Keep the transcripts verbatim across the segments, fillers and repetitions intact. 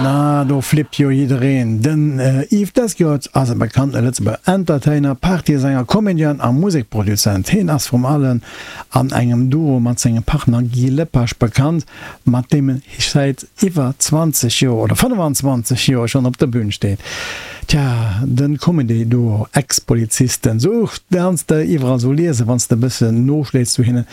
Na, do flippt jo jiddereen. Den Yves Desquiotz ass e bekannte Lëtzebuerger Entertainer, Partysänger, Comedian a Musekproduzent. Hien ass vrum allen an engem Duo mat sengem Partner Guy Lepage bekannt, mat deem en säit iwwer zwanzeg Joer, oder fënnefanzwanzeg Joer schonn op der Bün steet. Tja, de Comedy-Duo Ex-Polizisten, sou kanns de iwwerall sou liesen, wann s de e bëssen noschléits zu hinnen.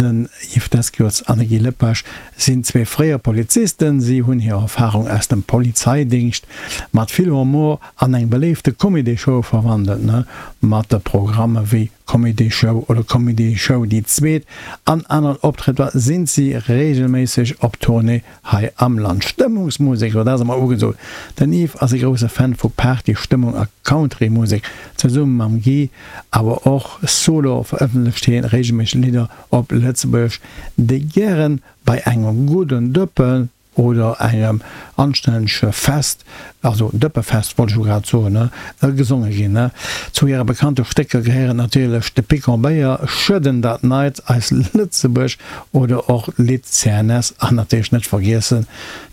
Den Yves Desquiotz an de Guy Lepage sinn zwee fréier Polizisten. Si hunn hir Erfarung aus dem Polizeidingscht mat vill Humor an eng beléifte Comedy-Show verwandelt, mat de Programme wéi Comedy Show oder Comedy Show déi zweet an aneren Optrëtter sinn si reegelméisseg op Tournée hei am Land. Stëmmungsmusek, jo dat ass emol ugesot. Den Yves ass e grousse Fan vu Party, Stëmmung a Country-Musek. Zesumme mam Guy, awer och solo verëffentlecht hien reegelméisseg Lidder op Lëtzebuergesch, déi gären bei engem gudden Dëppen oder engem anstännege Fest, also Dëppefest wollt ech jo grad soen, ne, gesonge ginn, ne. Zu hire bekannte Stécker gehéieren natierlech De Picon Béier, Schëdden dat Neit, Eis Lëtzebuerg oder och d'Lidd C N S an natierlech net vergiessen,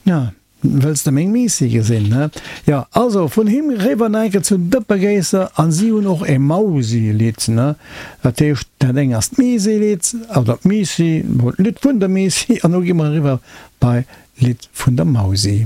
ja, Wëlls de meng Miissi gesinn, ne? Jo, also vun him eriwwer nach eng Kéier zu Dëppegéisser an si hunn och e Mausi-Lidd, ne? Dat heescht, dat eng ass d'Miisi-Lidd oder d'Miissi, d'Lidd vun der Miissi an elo gi mer eriwwer bei d'Lidd vun der Mausi.